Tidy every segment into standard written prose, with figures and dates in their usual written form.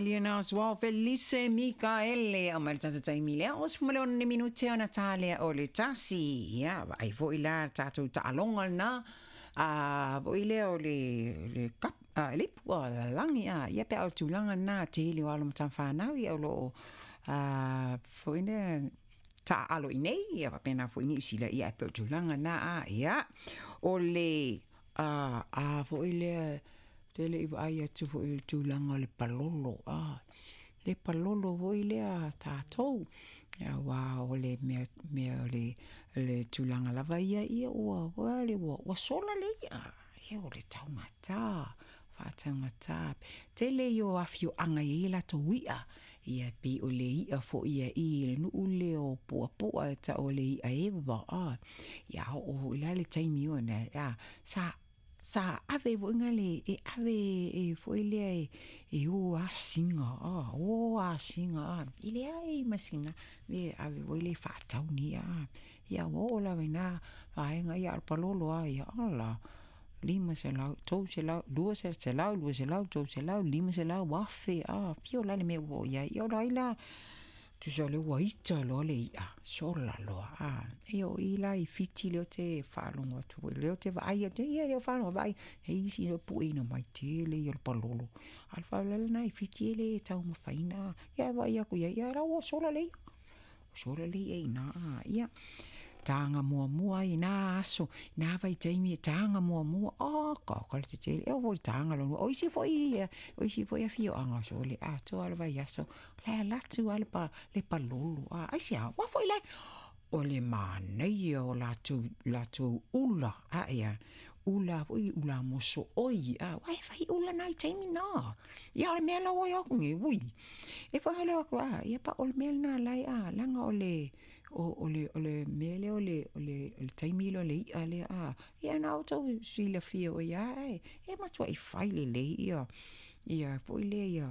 Lena João Felice Mikaele a mai le tatou taimi lea o 16 minute ona ta lea o le 1. Ia, vaai foi la le tatou taaloga lena a foi lea o le cup a le ipu a lalagi a ia pe a o le tulaga lena tele o alo ma tama fanau ia o lo o foi lea taaalo i nei ia faapena foi Niu Sila ia e pei o le tulaga lena a ia o le a foi lea te le i vaai atu foi i le tulaga o le palolo, a, le palolo foi lea a tatou, aua o le mea, mea o le tulaga lava ia, ia ua, ua, ua sola le i'a, ia o le taugata, faataugata. Tele ia o afioaga e i ai a latou i'a, ia pei o le i'a foi ia i le nuu lea o Puapua e tau o le i'a eva, a, ia oo foi la le taimi ona, a, sa sa ave foi na le e ave e foi lea e o asiga a o asiga a e leai ma sina e ave foi lea e faatau ni i'a a ia ua oo lava ina vaega ia a o le palolo lava ia ala 500, 300, 200, 100, 200, 300, 500, 1000 a fio la le mea ua oo i ai ia o ai la tusa o lea ua ita loa le i'a sola loa a ia o i la i Fiti lea ou te faalogo atu foi lea ou te vaai atu ia lea ou faalogo vaai e isi lea pueina mai tele ia o le palolo a o le faalavelave lena i Fiti e le taumafaina ia e vaai atu i ai ia la ua sola le i'a sola le i'a i ina a ia taga muamua ai i na aso i na vaitaimi e taga muamua oka oka le tetele e oo foi i le taga lona lua o isi foi o isi foi afioaga sole atoa le vaiaso la e alu atu lava le palolo a aisea ua foi la o le manaia o latou latou ula a ia ula foi ula mosooi a ua e fai ula na i taimi na ia o le mea la ua i aku nei ui e faale aku a ia pa o le mea lena la a leaga o le o le o le mea lea o le o le o le taimi lea o le i'a lea a ia na outou silafia foi a e e matuai fai lelei ia ia foi lea ia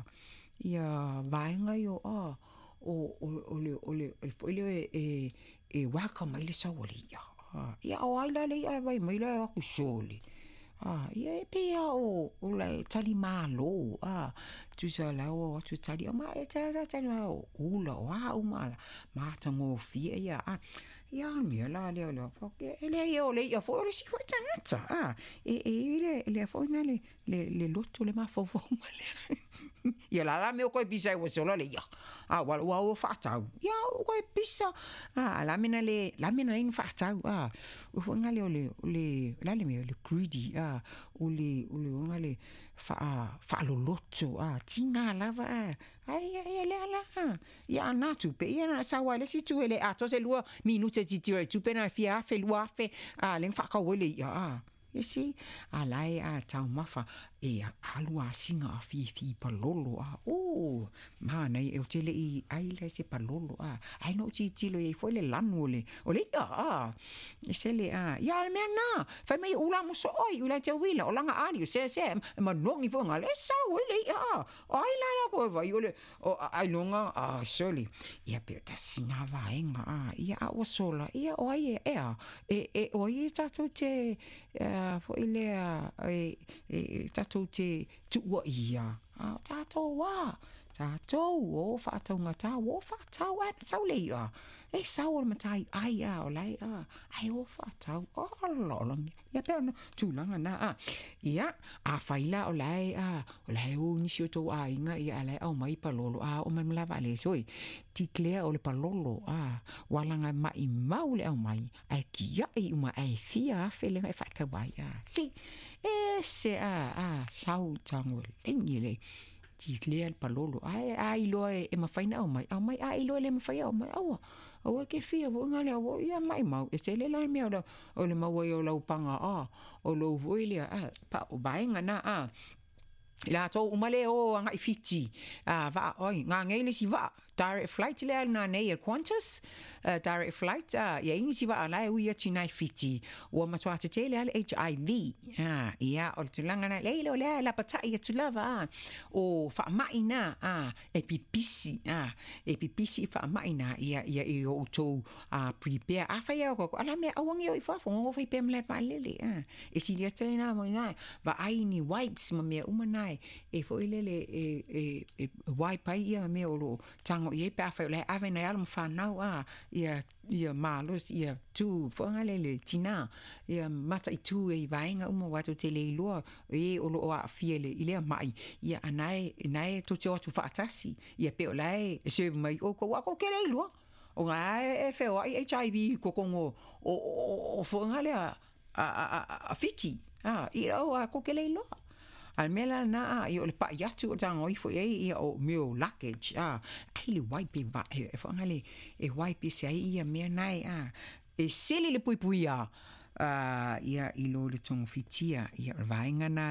ia vaega ia o o le o le foi lea e e welcome ai le sau a le i'a. Ia o ai la le i'a e vaai mai la e o atu sole. Ia e pei lava o o le tali malo a tusa la ua o atu e tali ma e tali tali o ula o a uma matagofie ia a ia o le mea la lea o le e leai o le i'a foi o le isi foi tagata a e e i le lea foi na le le, le loto le mafaufau ma le ia la la mea koe pisa ua sola le ia a ua ua ua faatau ia o koe pisa a la mena le la mena le faatau a o foi ngale o le o le la le mea le greedy a o le o le ngale faa faaloloto a tinga lava a ai ai le ala ia ana tupe ia na sau ai le isi tu e le atoa se 2 minute tilotilo i tupe na fia afe 2000 a le faatau ai le ia a You see, a la e a taumafa e alu asiga a fifi palolo a o manaia e o te le i ai la se palolo a ai no tilotilo i ai foi le lanu o le o le i'a a e sele a ia le mea na fai mai ula moso oi ula te uila o langa ali o se se e manogi foi ngale e sau ai le i'a a o ai la la koe vai o le o ai longa a sole ia pe tasi na vaega a ia a ua sola ia o ai e ea e e o ai e tatou te foi lea e e tatou te tuua ia a o tatou a tatou o faataugata ua faatau ae na sau le i'a e sau o le matai ai a o lae a ae o faatau ala o lagi ia pei ona tulaga na a ia afai la o lae a o lae o nisi o tou aiga ia a lae aumai palolo a oo mai le malaevaalele soi declare o le palolo a ua laga maimau le aumai ae kia'i uma ae fia afe le e faatau ai a si ese a a sau tago e le declare le palolo ae a iloa e mafai ona aumai aumai a iloa e le mafai aumai aua aua e ke fia foi ngale aua ia maimau e tele la le mea o le o le maua ai o lau paga a o lou foi lea a pa o vaega na a i latou uma le o agai Fiti a vaa oi gagei le isi vaa. direct flight lea i luga nei a le Qantas, direct flight, a, e i ai nisi vaa la e ui atu i ina i Fiti, ua matua tetele lava le HIV, a, ia, o le tulaga lena, leai o lea e lapatai atu lava, a, o faamai na, a, e pipisi, a, e pipisi i faamai na, ia, ia, ia outou a, prepare. Afai lava o le a le mea aua ne i o i fafo, nonofo ai pea i le malae vaalele, a, e sili atu ai lena i ina, vaai ni wipes ma mea uma na e foi lele e, e, wipe ai ia mea o lo o tago i ai pe afai o la e ave nai alo ma fanau a, ia, ia malosi, ia tu foi lele tinā, ia mataitu ai i vaega uma aua tou te le iloa e o lo o aafia i lea mai, ia a na e, na e tou te o atu faatasi, ia pe o la e serve mai i oukou, aua tou te le iloa. O na e feoai HIV i totonu o, o, o, o foi lea a, a, a, a Fiti, a, i au a tou te le iloa. A o le mea la lena, a, ia o le pa'i atu o le tago ifo i ai, ia o mea o luggage, a, ai le wipe e, va, e, e foi le, e wipe ese ai ia mea nae, a, e sili le puipuia, a, ia i lo le togofitia, ia o le vaega na.